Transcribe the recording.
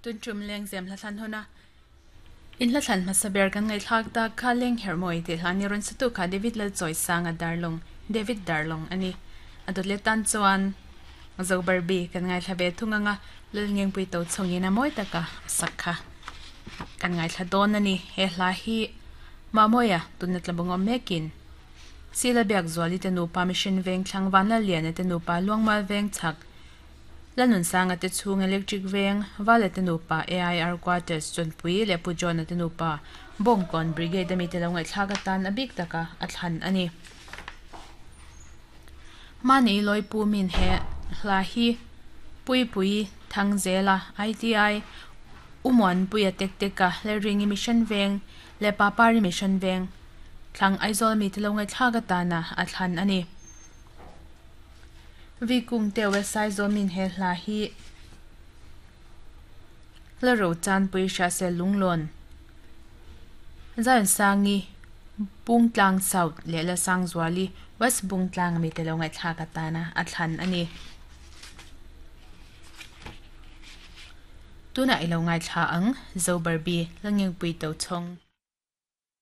Tun tum lengzem hla thlan huna in hla thlan hmasa ber kan ngaihthlak tak kha leng herhmawi tih hla ni rawn sa tu kha David Lalchawisanga Darlawng, David Darlawng a ni. A dawt leh tan chuan Zobarbi kan ngaithla ve thung anga Lalngengpui to chhungin a mawi taka a sak kha kan ngaithla dawn a ni. He hla hi Mamawia tuna tlabawngawm mekin Sila Biakzuali te nupa Mission Vengthlang Vanlalliana te nupa Luangmal Vengchhak Lanunsanga te chhung Electric Veng, Vala te nupa AIR Quarters Chawnpui leh Pu John-a te nupa Bawngkawn Brigade a mite lo ngaihthlak atan a bik taka a thlan a ni. Mahni Lawipu min he hla hi Puipui Thangzela, ITI, Umuanpuia Tekteka, Lalringi Mission Veng leh Papari Mission Veng thlang Aizawl mite lo ngaihthlak atana a thlan a ni. Vi kung te west sai zawmin he hla hi la ro chan pui hria se lunglawn Zion-sangi Bungtlang South leh Lalsangzuali West Bungtlang ami te lo ngaihthlak atana a thlan a ni. Tunah i lo ngaithla ang, Zo Barbie, Lalngengpui Tochhawng.